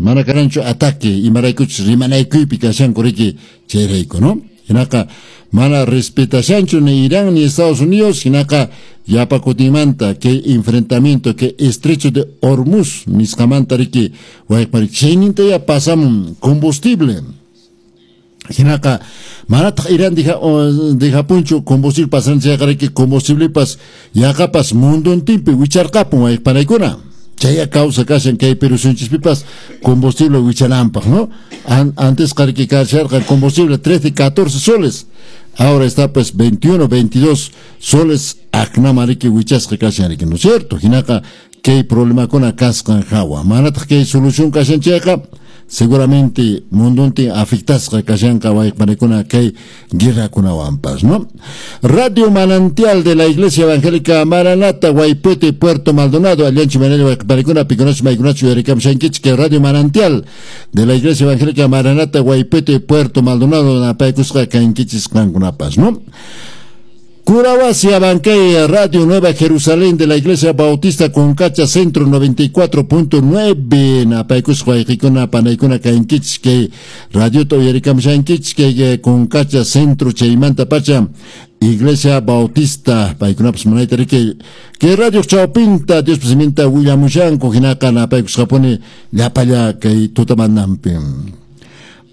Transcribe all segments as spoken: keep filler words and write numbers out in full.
Mana karanchu ataque imaraykuchus rimanaykuypi kashanku riki chayrayku, ¿no? Hinaqa mana respetashanchu ni Irán ni Estados Unidos, hinaqa yapa kutinmanta kay enfrentamiento kay estrecho de Hormuz nisqamanta riki wayqpari chayninta ya pasamun combustible. Hinaqa manataq Irán deja, dejapunchu combustible pasan chayqa riki combustiblepas yaqapas mundontinpi wicharqapun wayqpanaykuna. Chaya causa kashan kay Perú suyunchispipas combustible wichananpaq, ¿no? An, antes qariki kasharqa combustible trece, catorce soles. Ahora está pues veintiuno, veintidós soles aknama riki wichasqa kashan riki, ¿no es cierto? Hinaqa kay problemakuna kasqan hawa. Manataq kay solución kashan chayqa seguramente mundontin afectasqa kashanqa wayqpanakuna kay guerrakunawanpas, ¿no? Radio Manantial de la Iglesia Evangélica Maranata, Guaypete, Puerto Maldonado, Allanchi Manel wayqpanakuna, pikunachu maykunachu uyarikamshankichik kay Radio Manantial de la Iglesia Evangélica Maranata, Guaypete, Puerto Maldonado, napaykusqa kankichis qankunapas, ¿no? Curahuasi, Abancay, Radio Nueva Jerusalén de la Iglesia Bautista Concacha Centro noventa y cuatro punto nueve, napaykusqa wayqikuna panaykuna kankichik kay radiota uyarikamshankichik kay Concacha Centro chaymanta pacha Iglesia Bautista paykunapas munayta riki kay radio chawpinta Dios siminta willamushanku hinaqa napaykusqapuni llapalla kay tutamanampi.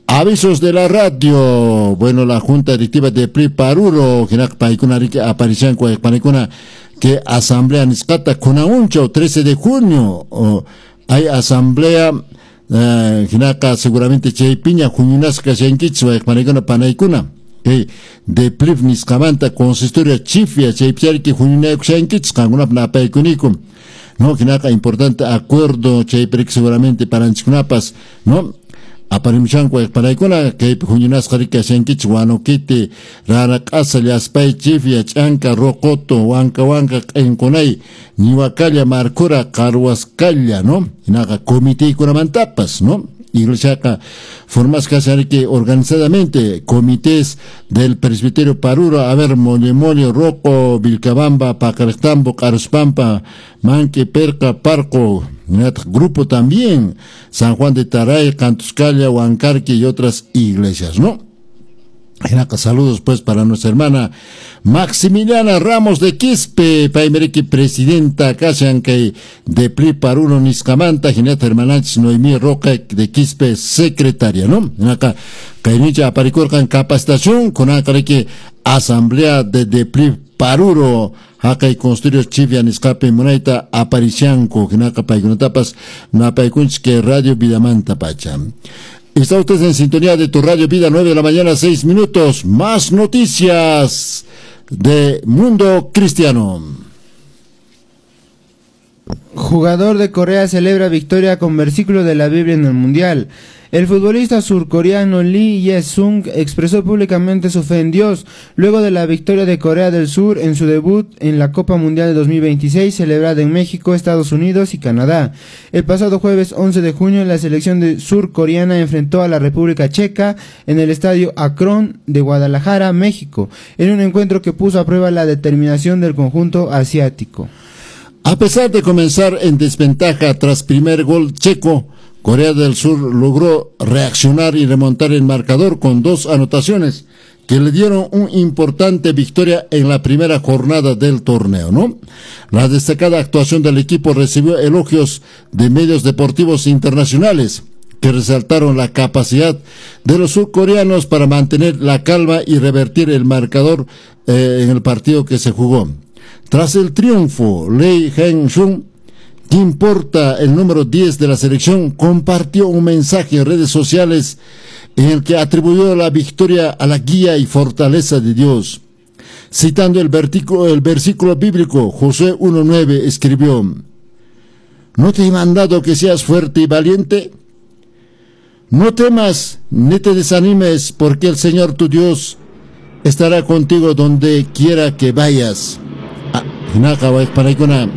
Avisos de la radio. Bueno, la Junta Directiva de P R I Paruro, hinaq paykuna riki aparishanku wayqpanakuna que asamblea nisqata kunaunchaw trece de junio o, hay asamblea eh, hinaqa seguramente chaypiña huñunasqa kashankichis wayqpanakuna panaykuna kay de P R I nisqamanta consistorio chifia chaypichariki huñunakushankichis qankunap napaykuniku, no? Hinaqa importante acuerdo chaypiriki seguramente paranchikunapas, no? Aparimushanku wayqpanaykuna kaypi huñunasqa riki kashankichis Huanuquiti, Raraq'asa, Llaspay, Chifia, Ch'anka, Roqoto, Wanka Wanka, Q'inqunay, Ñiwakalla, Marcura, Qarhuascalla, ¿no? Hinaqa comiteykunamantapas, ¿no? Iglesiaqa formasqa kashan riki organizadamente comités del presbiterio Paruro, a ver, Molle Molle, Roco, Vilcabamba, Paqariqtambo, Q'aruspampa, Manque, Perca, Parco, grupo también, San Juan de Taray, Cantuscalla, Huancarqui y otras iglesias, ¿no? Hinaqa saludos pues para nuestra hermana Maximiliana Ramos de Quispe, paymeriki presidenta kashan kay de P R I Paruro nisqamanta, hinata hermananchis Noemí Roca de Quispe secretaria, ¿no? Hinaqa kaynincha aparikurqan capacitación kunanqa riki asamblea de de P R I Paruro haqay consistorio chivia nisqapi munayta aparishanku hinaqa paykunatapas napaykunchik kay Radio Vidamanta pacha. Está usted en sintonía de tu Radio Vida, nueve de la mañana, seis minutos. Más noticias de Mundo Cristiano. Jugador de Corea celebra victoria con versículo de la Biblia en el Mundial. El futbolista surcoreano Lee Jae-sung expresó públicamente su fe en Dios luego de la victoria de Corea del Sur en su debut en la Copa Mundial de dos mil veintiséis celebrada en México, Estados Unidos y Canadá. El pasado jueves once de junio, la selección de surcoreana enfrentó a la República Checa en el estadio Akron de Guadalajara, México, en un encuentro que puso a prueba la determinación del conjunto asiático. A pesar de comenzar en desventaja tras primer gol checo, Corea del Sur logró reaccionar y remontar el marcador con dos anotaciones que le dieron una importante victoria en la primera jornada del torneo, ¿no? La destacada actuación del equipo recibió elogios de medios deportivos internacionales que resaltaron la capacidad de los surcoreanos para mantener la calma y revertir el marcador, eh, en el partido que se jugó. Tras el triunfo, Lee Jae-sung, que porta el número diez de la selección, compartió un mensaje en redes sociales en el que atribuyó la victoria a la guía y fortaleza de Dios. Citando el versículo, el versículo bíblico, Josué uno nueve, escribió: ¿No te he mandado que seas fuerte y valiente? No temas ni te desanimes, porque el Señor tu Dios estará contigo donde quiera que vayas. Ah, hinaqa wayqpanaykuna,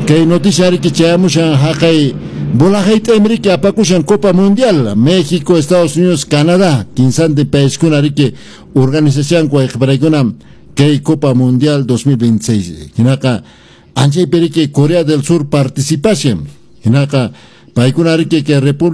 kay noticia riki chayamushan haqay bolajayta riki apakushan Copa Mundial, México, Estados Unidos, Canadá, kinsantin paiskuna riki organización wayqpanaykuna kay Copa Mundial dos mil veintiséis. Hinaqa anchaypi riki Corea del Sur participación. Hinaqa paykuna riki kay República